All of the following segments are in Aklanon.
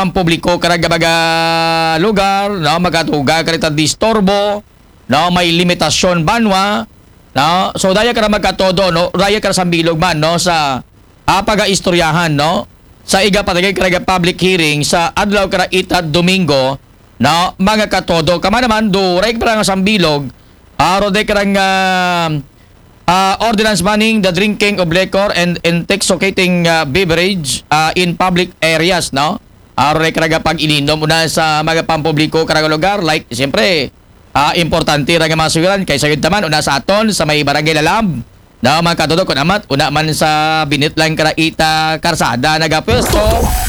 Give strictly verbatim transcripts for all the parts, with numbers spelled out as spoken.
pampubliko karaga baga lugar, no, makatuga karita disturbo, no, may limitasyon banwa, no, so daya kara magkatodo, no, daya kara sambilog man, no, sa ah, pagaistoryahan, no, sa iga patigay karaga public hearing sa adlaw kara ita Domingo, no, mga katodo, kama naman, duray kara nga sambilog, ah, roday kara nga ah, ordinance banning the drinking of liquor and intoxicating ah, beverage ah, in public areas, no? Ah, roday karaga pag-ilinom una sa mga pampubliko karaga lugar, like, siyempre, ah, importante ra nga mga sugiran kay sayod taman una sa aton sa may barangay Lalab, no, mga katodo, kun amat una man sa binit lang kara ita karsada nagapwesto.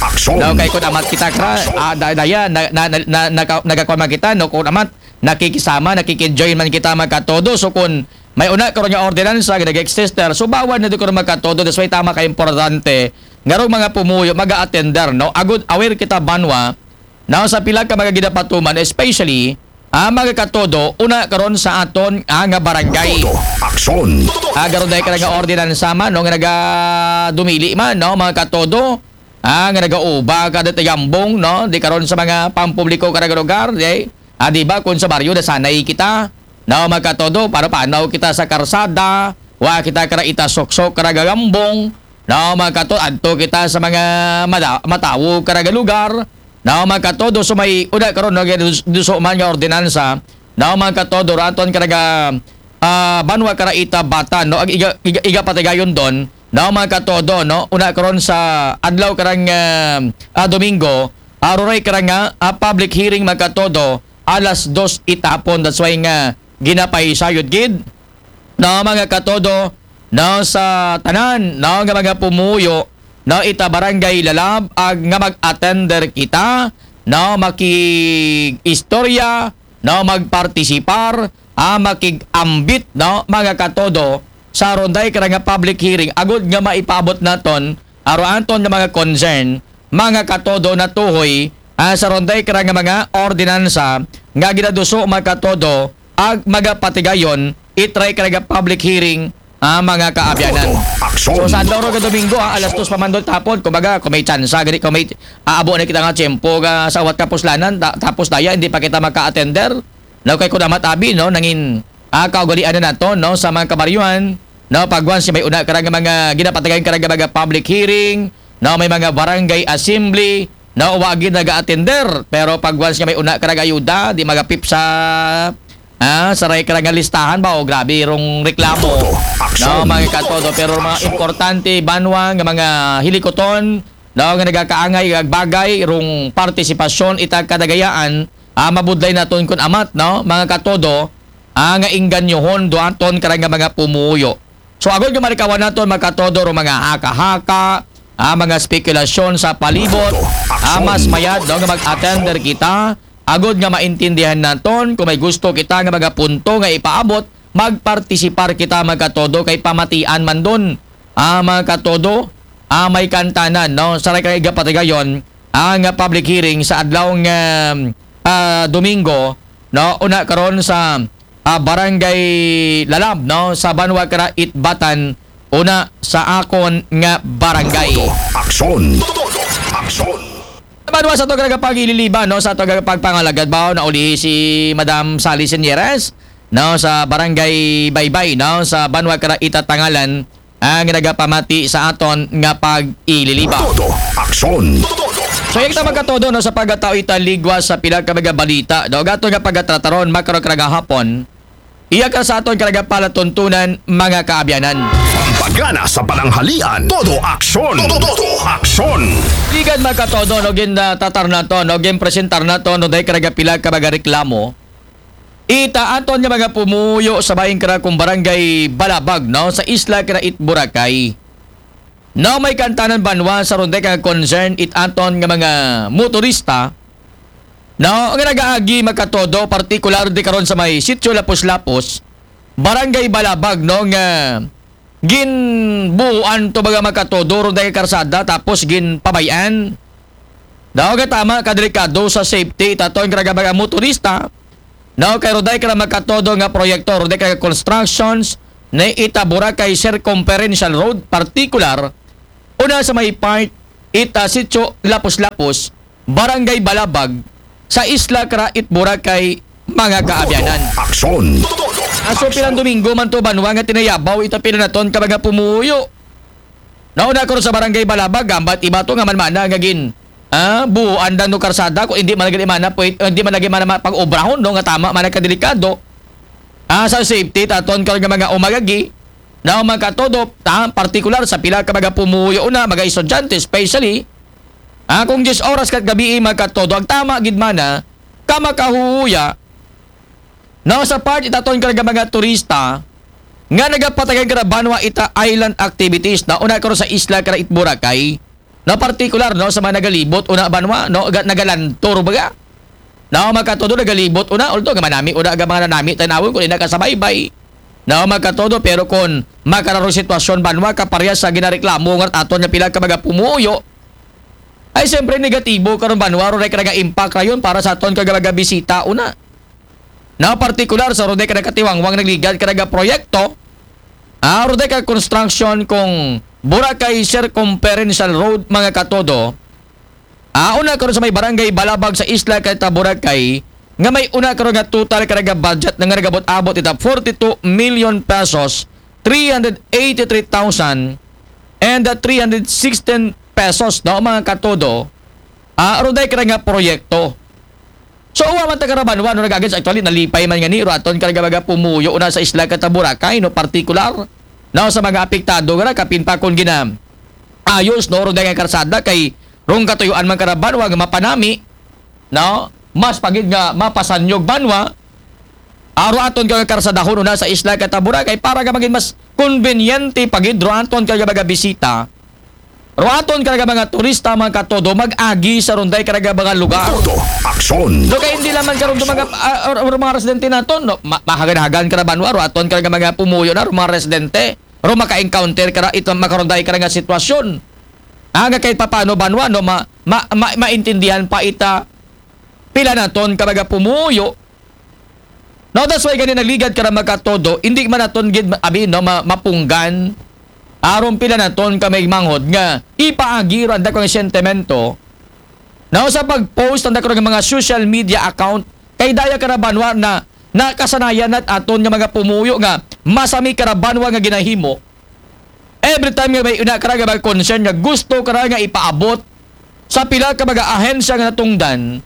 Aksyon. No, kay kun amat kita kra, ah, da- daya na, na, na, na, naka- nagakuan man kita, no, kun amat nakikisama, nakiki-join man kita, mga katodo. So kun may una karon nga ordinansa nga nag-exist, subawan na di ko na, mga katodo. That's why tama ka importante nga rong mga pumuyo maga-attender, no? Agud aware kita banwa, no, sa pila ka mga ginapatuman, especially ah, mga katodo, una karon sa aton ah, nga barangay. Todo aksyon. Ah, garon dahil ka nga ordinansa man, no, nga nagadumili man, no, mga katodo, ah, nga nagauba ka dati gambong, no, di karon sa mga pampubliko karaga lugar, di, ah, di ba, kung sa baryo na sanay kita, no, mga katodo, para panaw kita sa karsada, wa kita kara ita suksok karaga gambong, no, mga katodo, adto kita sa mga mada- matawo karaga lugar, no, mga katodo, so may una karon, no, dus- duso man nga ordinansa, no, mga katodo, raton karaga ah, banwa kara ita batan, no, ag iga, iga, iga patigayon don, no, mga katodo, no, una karon sa adlaw karang ah, ah, Domingo, ah, ruray kara nga ah, public hearing, mga katodo, alas dos itapon. That's why nga ginapaisayod gid, no, mga katodo, no, sa tanan, no, nga mga pumuyo, no, ita barangay Lalab, ag nga mag-attender kita, no, makig-istorya, no, magpartisipar, ah, makig-ambit, no, mga katodo, sa ronday kara nga public hearing, agud nga maipaabot naton, aro anton nga mga concern, mga katodo, na tuhoy ah, sa ronday kara nga mga ordinansa nga ginaduso, mga katodo, ag magapatigayon, itry kara nga public hearing, ah, mga kaabyanan. Todo aksyon. So sa adlaw ro nga Domingo, ah, alas dos pa man don tapon, kumbaga, kung may tsansa gani, kung may aabo na kita nga tiyempo nga sa uwat kapuslanan, ta- tapos daya hindi pa kita maka-attender, no, kay kun amat abi, no, nangin ah, kaugalian na nato, no, sa mga kabaryuhan, no, pag once may una kara nga mga ginapatigayon kara nga mga public hearing, no, may mga barangay assembly, no, wa gid naga-attender, pero pag once nga may una kara nga ayuda, di magapip sa ah, saray kara nga listahan ba, o grabe rong reklamo. Todo aksyon. No, mga katodo, pero mga importante banwa nga mga hilikoton, no, nga nagakaangay ag bagay rong partisipasyon ita kadagayaan, ah, mabudlay naton kun amat, no, mga katodo, ah, nga engganyohon duaton kara nga mga pumuyo. So agud nga malikawan naton, mga katodo, rong mga haka-haka, ah, mga spekulasyon sa palibot, ah, mas mayad, no, nga mag-attender kita, agud nga maintindihan naton kung may gusto kita nga mga punto nga ipaabot, magpartisipar kita, mga katodo, kay pamatian man don, ah, mga katodo, ah, may kantanan, no, saray kara nga igapatigayon, ah, nga public hearing sa adlaw nga ah, Domingo, no, una karon sa ah, Barangay Lalab, no, sa banwa kara Itbatan, una sa akon nga barangay. Todo aksyon. Todo aksyon. Banwa sa ato nga pag-ililiba, no, sa ato nga pagpangalagad ba, naulihi si Madam Sally Señeres, no, sa Barangay Baybay, no, sa banwa kara Itatangalan, ang nagapamati sa aton nga pag-ililiba. Todo aksyon. So, yung kita magkatodo, no, sa pagkatao italigwa sa pila ka mga balita, no, gato nga pagkatrataron, makro kara gahapon, iya ka sa aton kara nga palatuntunan, mga kaabyanan. Pampagana sa pananghalian, todo aksyon. Todo, todo aksyon. Igan makatodo, no, gin ah, tatar nato, no, gin presentar nato, no, dahil kara nga pila ka mga reklamo, ita aton nga mga pumuyo sa bahin kara kung barangay Balabag, no, sa isla kara it Boracay. No, may kantanan banwa sa ronde ka concern it aton nga mga motorista, no, nga nagaagi makatodo, partikular di karon sa may Sitio Lapos-Lapos, Barangay Balabag, no, nga ginbuhuan to mga makatodo ronde ka karsada tapos ginpabayan. Daw ka tama, kadelikado sa safety, taton kara mga motorista, no, kay roday kara makatodo nga proyekto, roday kara constructions, ni ita Boracay Circumferential Road, partikular, una sa may part, ita Sitio Lapos-Lapos, Barangay Balabag, sa Isla Craite, Boracay, mga kaabyanan. Aksyon. Aso pilang Domingo man to banwa nga tinayabaw ita pila naton ka mga pumuyo. Nauna ko sa Barangay Balabag, gambat iba to nga man mana nga gin ah, buuan dan no karsada kung hindi man lagi mana pwede, hindi man lagi mana pag-obrahon no nga tama man ang kadelikado. Ah, sa safety taton ka nga mga umagagi na mga katodo, ah, partikular sa pila ka mga pumuyo na mga estudyante especially. Ah, kung diyes oras kat gabi mga katodo, ang tama gid mana ka makahuya na sa part itaton ka nga mga turista nga nagapatagan ka na banwa ita island activities na una karon sa isla ka na it Boracay. Na partikular no sa mga nagalibot una banwa no ga, nagalantor baga. Na makatudo nagalibot una, although nga manami una ga mga nanami tanawon kung ina ka sa baybay. Na makatudo pero kung makararo sitwasyon banwa kaparya sa ginareklamo nga aton nga pila ka mga pumuyo, ay siyempre negatibo karon banwa ro ka nga impact rayon para sa aton ka mga bisita una. Na partikular sa rode ka katiwangwang nagligad ka nga proyekto, ah, rode ka construction kung Boracay Circumferential Road mga katodo. Ah, una karon sa may barangay Balabag sa Isla Craite, Boracay, nga may una karon nga total ka nga budget na nga nagabot-abot ita forty-two million pesos, three hundred eighty-three thousand and three hundred sixteen pesos no mga katodo. Ah, rode ka nga proyekto. So, uwa man ta karabanwa, no, nag-agad sa actually, nalipay man nga ni, ro aton ka nga mga pumuyo na sa isla ka ta Boracay, no, partikular, no, sa mga apektado nga na, kapin pa kung gina, ayos, no, ro nga karsada, kay rong katuyuan man karabanwa, nga mapanami, no, mas pagid nga mapasanyog banwa, aro aton ka nga karsadahon una sa isla ka ta Boracay, para nga maging mas konbinyente pagid, ro aton ka nga mga bisita, Ruaton ka nga mga turista, mga katodo, mag-agi sa runday ka nga mga lugar. Todo aksyon. So, kaya hindi naman karon mga, ah, or, or mga residente naton, no? Ma- mahagan-hagan ka na banwa, ruaton ka nga mga pumuyo na, or mga residente. Ro maka-encounter ka na, ito makarunday ka nga sitwasyon. Ah, nga kahit papano banwa, no? Ma, ma, ma, maintindihan pa ita, pila naton ka mga pumuyo, No, that's why gani nagligad ka na magkatodo, hindi man naton gid abi, no, ma- mapunggan. Aron pila naton ka may manghod nga ipaagi ro ang dakong sentimento. No, sa pag-post ang dakong mga social media account, kay daya ka na banwa na nakasanayan nat aton nga mga pumuyo nga masami ka na banwa nga ginahimo. Every time nga may una ka nga mga concern nga gusto ka nga ipaabot sa pila ka mga ahensya nga natungdan,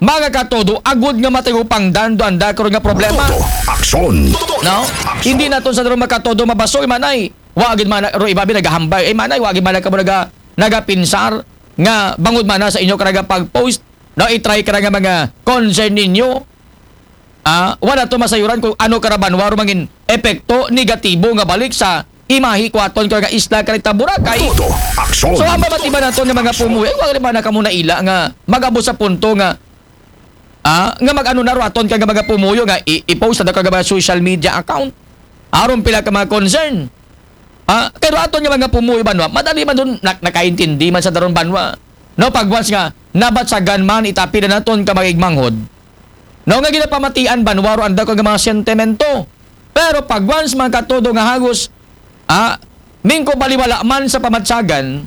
mga katodo, agud nga matagupangdan do anda karon nga problema. Todo aksyon. No? Hindi naton sa mga katodo mabasoy manay. Wa gid man ro ibabi nagahambay. Eh manay, wa gid man ka mo naga nagapinsar nga bangod man sa inyo ka nga pag-post, no, i-try ka nga mga concern ninyo. Ah, wala to masayuran kung ano karabanwa ro mangin epekto negatibo nga balik sa imahe ko aton ka nga isla ka rita Boracay. Todo aksyon. So ang pamatiban nato nga mga pumuyo, eh, wala man na kamo naila nga mag-abot sa punto nga ah, nga mag-ano na ro aton ka nga mga pumuyo nga i- i-post sa dakang mga social media account. Aron pila ka mga concern. Ah, kay ro aton nga mga pumuyo banwa, madali man dun nak- nakaintindi man sa daron banwa. No, pag once nga nabatsagan man itapi na naton ka mga igmanghod. No, nga ginapamatian banwa ro anda ko nga mga sentimento. Pero pag once man katodo nga hagos, ah, mingko baliwala man sa pamatsagan,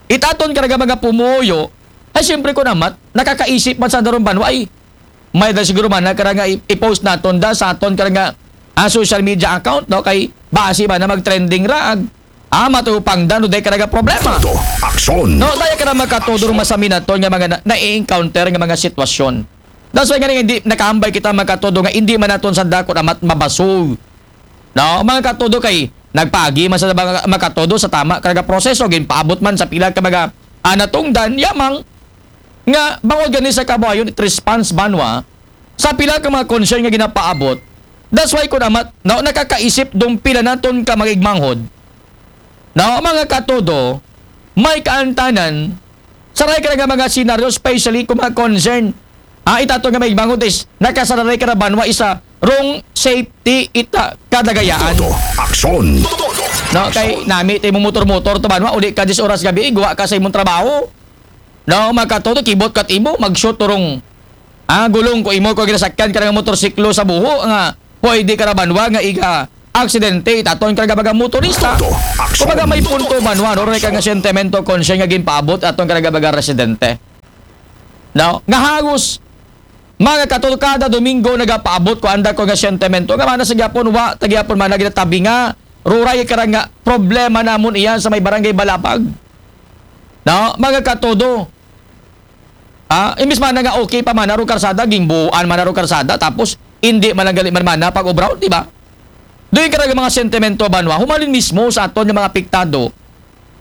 itaton ka nga mga pumuyo, ay siyempre ko namat, nakakaisip man sa daron banwa, ay, may da siguro man na kara nga i- i-post naton da sa aton ka nga ah, social media account, no? Kay basi ba na mag-trending ra ag ah, matupang da, no? Dahil ka nga problema. Todo aksyon. No, dahil ka na magkatodo ro masami naton nga mga na- nai-encounter nga mga sitwasyon. That's why nga hindi nakahambay kita magkatodo nga hindi man naton sa dako na mat- mabasog. No, mga katodo kay nagpagi man sa mga makatodo sa tama ka nga proseso, ginpaabot man sa pila ka mga ah, natungdan, yamang nga bangod gani sa kabuhayon it response banwa sa pila ka mga concern nga ginapaabot. That's why kun amat, no, nakakaisip dong pila naton ka mga igmanghod. No, mga katodo, may kaantanan, saray ka nga mga senaryo, especially kung mga concern. Ah, itato nga mga igmanghod is, nakasararay ka na banwa isa, rong safety ita kadagayaan. Todo aksyon. No, kay nami ti mo motor-motor to banwa, uli ka diyes oras gabi, guwa ka sa imong trabaho. No, makatuto, kibot kat imo, mag-shoot turong ah, gulong ko imo ko ginasakyan ka nga motorsiklo sa buho nga pwede ka na banwa nga iga aksidente itaton ka nga baga motorista. Todo aksyon. Kumbaga may punto banwa, no, ray ka nga sentimento, concern nga ginpaabot aton ka nga baga residente. No? Nga halos, mga katodo, kada Domingo nagapaabot ko anda ko nga sentimento. Nga mana sa gyapon, wa, ta gyapon mana ginatabi nga, ruray kara nga problema namon iya sa may barangay Balabag. No? Mga katodo, ah, imbis mana nga okay pa mana ro karsada, gingbuuan mana ro karsada, tapos hindi man lang gali man mana pag-obrahon, di ba? Doon kara nga mga sentimento, banwa, humalin mismo sa aton nga mga apektado,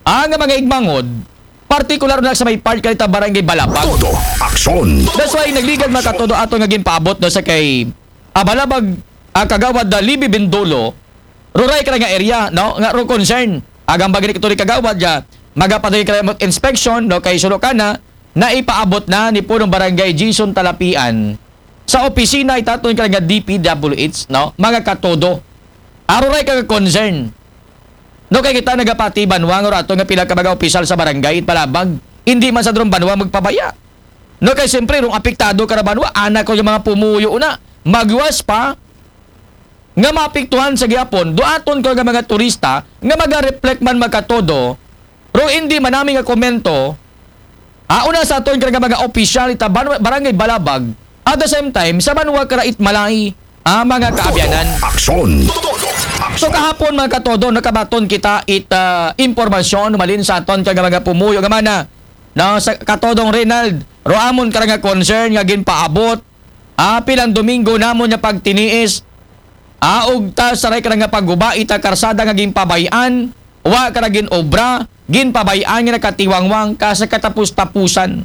ah, nga mga igmangod, partikular na sa may part kanita barangay Balabag. Todo aksyon. That's why nagligad, mga katodo, ato nga ginpaabot, no, sa kay, ah, Balabag, ah, Kagawad, ah, Libby Bindolo, ruray kara nga area, no, nga ro concern. Agang bagay ni Kagawad, ya, magapaday kara mag inspection, no, kay sulo kana, naipaabot na ni punong barangay Jason Talapian sa opisina itaton kara nga D P W H, no, mga katodo. Aro ray ka concern. No, kay kita nagapati, banwa, nga rato nga pila ka mga opisyal sa barangay it Balabag, hindi man sa drum, banwa, magpabaya. No, kay siyempre, rong apektado kara, banwa, anak ko yung mga pumuyo na, magwas pa, nga maapektuhan sa gyapon, duaton ko nga mga turista, nga maga-reflect man, mga katodo, ro hindi man nami nga komento, ah, una sa aton kara nga mga opisyal ita ban-, barangay Balabag, at the same time, sa banwa kara it Malay, ah, mga kaabyanan. Aksyon. So kahapon, mga katodo, nakabaton kita it, ah, impormasyon, malin sa aton kara nga mga pumuyo nga mana, no, sa katodong Reynald, ro amon kara nga concern nga ginpaabot, ah, pilang Domingo namon nga pagtiniis, ah, ug ta saray kara nga pagguba ita karsada nga ginpabay-an, wa kara ginobra, ginpabay-an nga nakatiwangwang ka sa katapus-tapusan.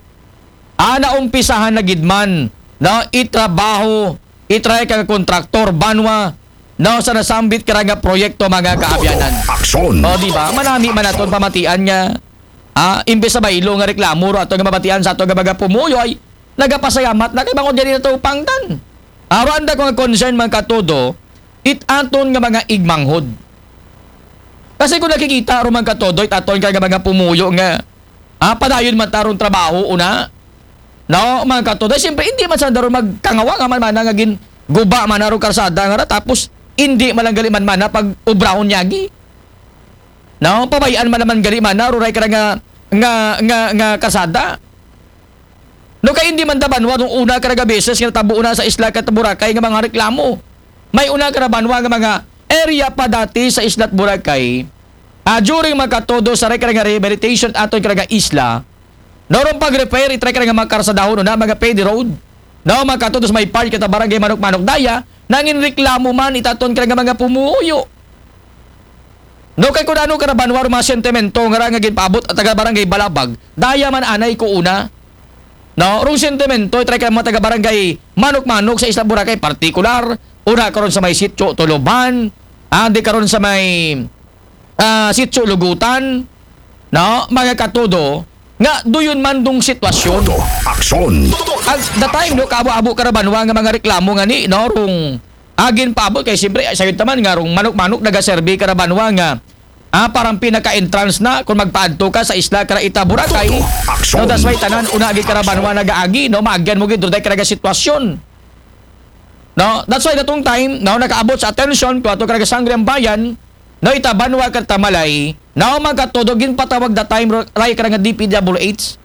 Ah, naumpisahan na gid man, no, itrabaho, itry ka nga kontraktor, banwa, no, sa nasambit kara nga proyekto, mga kaabyanan. Aksyon. O, di ba? Manami man aton pamatian nga, ah, imbes sa baylo nga reklamo ro ato nga mabatian sa ato nga mga pumuyo ay nagapasayamat na kay bangod yan ito pangtan. Aro anda ko nga concern, mga katodo, it aton nga mga igmanghod. Kasi kung nakikita ro, mga katodo, it aton ka nga mga pumuyo nga, ah, padayon man tarong trabaho una. No, mga katodo, siyempre, hindi man sa daron magkangawa nga man mana nga gin guba man aro karsada nga ra, tapos hindi man lang gali man mana pag obrahon yagi. No, pabayaan man naman gali mana, ruray kara nga, nga, nga, nga karsada. No, kay hindi man da banwa nung una kara nga beses nga natabo una sa isla kat Boracay nga mga reklamo. May una kara banwa nga mga area pa dati sa isla at Boracay. Ah, during, mga katodo, sa ray kara nga rehabilitation aton kara nga isla, no, rong pag-repair, itry kara nga mga karsadahon na mga paved road. No, mga katodo, sa may part kita barangay Manok-Manok daya, nangin reklamo man itaton kara nga mga pumuyo. No, kay kung ano kara banwa rong mga sentimento nga ra nga ginpaabot at taga barangay Balabag, daya man anay ko una. No, rong sentimento, itry ka mga taga barangay Manok-Manok sa Isla Boracay, partikular, una karon sa may Sitio Tuluban, andi karon sa may, ah, Sitio Lugutan, no, mga katodo, nga duyon man dong sitwasyon. Todo aksyon. At the time, no, kaabo-abo kara banwa nga mga reklamo nga ni, no, rong agin paabot kay siyempre, ay, sayod taman nga rong Manok-Manok nagaserbi kara banwa nga, ah, parang pinaka-entrance na kung magpaadto ka sa isla kara ita Boracay. Todo aksyon. No, that's why tanan, una agi kara banwa nagaagi, no, maagyan mo gid, duday kara nga sitwasyon. No, that's why datong time, no, nakaabot sa atensyon ko ato kara nga Sangguniang Bayan, no, ita banwa kat Malay, no, mga katodo, ginpatawag that time, ro-, ray kara nga D P W H.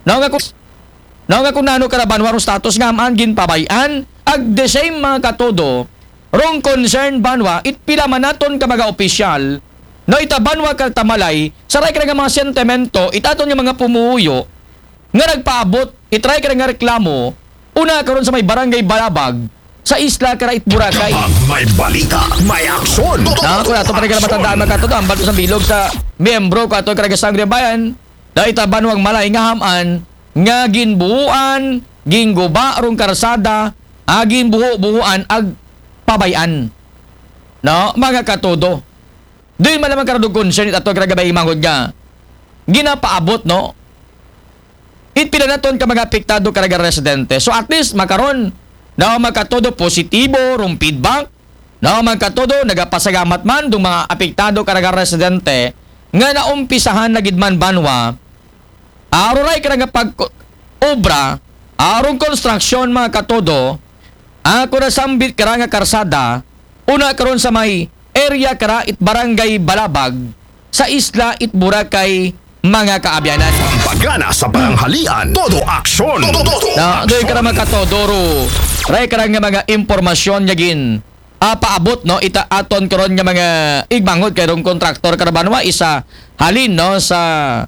No, nga kung, no, nga kung nano kara banwa rong status nga man ginpabay-an, ag the same, mga katodo, rong concern banwa, it pila man naton ka mga opisyal, no, ita banwa kat Malay, saray kara nga mga sentimento, itaton nga mga pumuyo, nga nagpaabot, itry kara nga reklamo, una karon sa may barangay Balabag, sa isla kara it Boracay. Pag may balita, may aksyon. Na, kung ato pa rin ka na matandaan, mga katodo, ang bato sa bilog sa miyembro ko ato kara nga Sangguniang Bayan, na ita banwang Malay nga ham-an, nga ginbuhuan, gingguba rong karsada, ah, ginbuho-buhuan, ag pabay-an. No, mga katodo. Doon man naman karadog concern it ato kara nga mga igmanghod nga ginapaabot, no? It pila naton ka mga apektado kara nga residente. So at least, makaron, no, mga katodo, positibo rong feedback, no, mga katodo, nagapasalamat man dong mga apektado kara nga residente nga naumpisahan na gid man banwa, ah, ruray kara nga pag-obra, ah, rong konstruksyon, mga katodo, ah, kung nasambit kara nga karsada, una karon sa may area kara it barangay Balabag, sa isla it Boracay, mga kaabyanan. Pagana sa pananghalian, todo aksyon. Todo, todo Na, doy aksyon. Ka na makatodo ro. Ray ka nga mga impormasyon nga gin ah, paabot, no, ita aton karon nga mga igmangod kay rong kontraktor ka ra banwa, isa halin, no, sa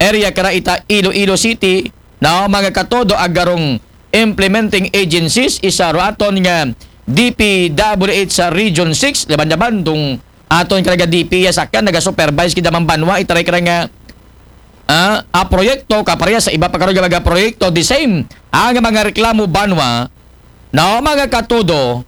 area ka ra ita Iloilo City, no, mga katodo, aga rong implementing agencies, isa ro aton nga D P W H sa Region six, laban-laban dong aton ka ra nga D P S, akan naga-supervise gid man banwa, ita ray ka ra nga ah, ah, proyekto, kapareha sa iba pa karon nga mga proyekto, the same ang mga reklamo banwa, no, mga katodo,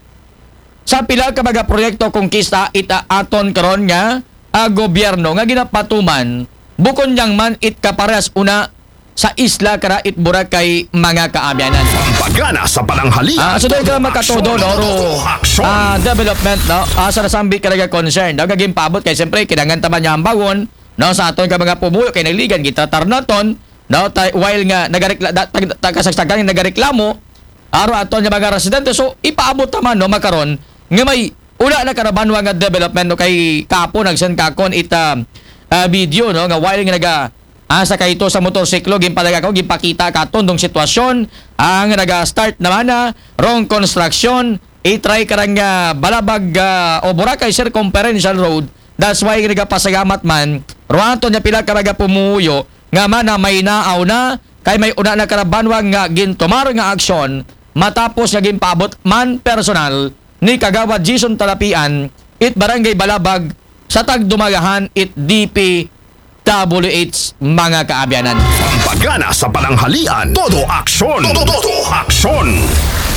sa pila ka mga proyekto kongkista ita aton karon nga, ah, gobyerno nga ginapatuman, bukon yang man it kaparehas una sa isla ka ra it Boracay, mga kaabyanan. Pagana sa pananghalian. Ah, so doy ka na makatodo, no, ro, Aksyon. ah, development, no, ah, sa nasambit ka ra nga concern, no, nga ginpaabot kay siyempre kinahanglan ta man nga hambagon, no, sa aton ka mga pumuyo kay naligan gitatar naton, no, tay, while nga nagarekla, da, tag, tag, kasagsagan nga nagareklamo aro aton nga mga residente, so ipaabot ta man, no, makaron nga may una na ka ra banwa nga development, no, kay kapo nag-send ka kon ita, ah, video, no, nga while nga naga asa kayto sa motorsiklo, ginpalaga ko, ginpakita katon dong sitwasyon ang naga-start naman na rong construction, itry ka ra nga Balabag, ah, o Boracay Circumferential Road. That's why nagapasalamat man ro aton nga pila ka mga pumuyo nga man na may naaw na kay may una na ka ra banwa nga gintumar nga aksyon matapos nga ginpaabot man personal ni Kagawad Jason Talapian it Barangay Balabag sa tagdumagahan it D P W H, mga kaabyanan. Pagana sa pananghalian, todo aksyon. Todo, todo aksyon.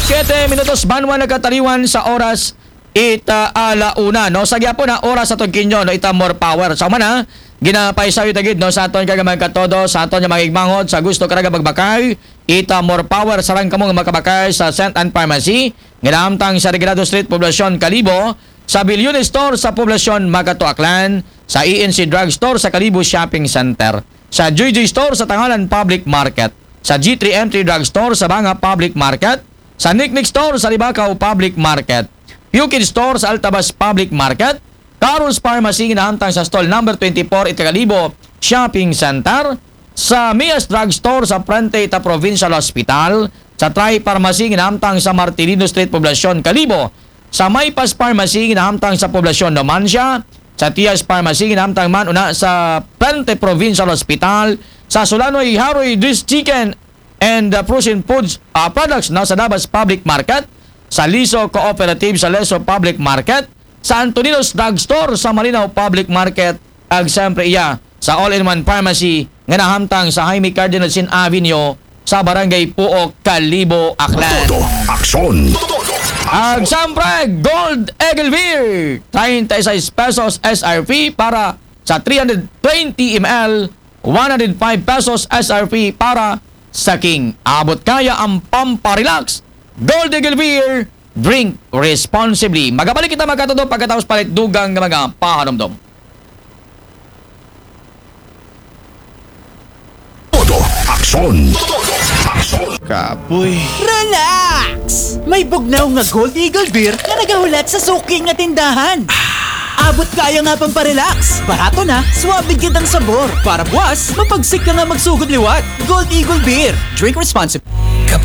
Siyete minutos banwa nakataliwan sa oras ita ala una, no? Sa gyapon na oras sa Tugkinyo, no? Ita more power. Sa umana, ginapaisaw ita gid, no? Sa aton ka nga mga katodo, sa aton nga mga igmangod, sa gusto ka ra nga magbakay, ita more power, sarang kamo nga makabakay sa Saint Anne Pharmacy, nga nahamtang sa Regalado Street, Poblacion, Kalibo, sa Billion Store sa Poblacion, Makato, Aklan, sa E N C Drug Store sa Kalibo Shopping Center, sa J J Store sa Tangalan Public Market, sa G three M three Drug Store sa Banga Public Market, sa Niknik Store sa Libacao Public Market, Pukid Store sa Altabas Public Market, Carol's Pharmacy nga nahamtang sa stall number twenty-four ita Kalibo Shopping Center, sa Mia's Drug Store sa frente ita Provincial Hospital, sa Tri Pharmacy nga nahamtang sa Martilino Street, Poblacion, Kalibo, sa Maypas Pharmacy nga nahamtang sa Poblacion, Numancia, sa Tias Pharmacy nga nahamtang man una sa frente Provincial Hospital, sa Sulanoy Haroy Dris Chicken and, uh, Frozen Foods, uh, Products, no, sa Dabas Public Market, sa Liso Cooperative sa Leso Public Market, sa Antonino's Drug Store sa Malinaw Public Market, ag siyempre iya sa All-in-One Pharmacy nga nahamtang sa Jaime Cardinal Sin Avenue sa Barangay Puok, Kalibo, Aklan. Todo aksyon. Ag siyempre, Gold Eagle Beer, thirty-six pesos S R P para sa three hundred twenty M L, one hundred five pesos S R P para sa King. Abot kaya ang pamparelax. Gold Eagle Beer, drink responsibly. Magabalik kita, mga katodo, pagkatapos palit dugang nga mga pahanumdom. Todo aksyon. Todo aksyon. Kapoy. Relax! May bugnaw nga Gold Eagle Beer nga nagahulat sa suki nga tindahan. Abot kaya nga pamparelax. Barato na, suabe gid ang sabor. Para buwas, mapagsik ka nga magsugod liwat. Gold Eagle Beer. Drink responsibly.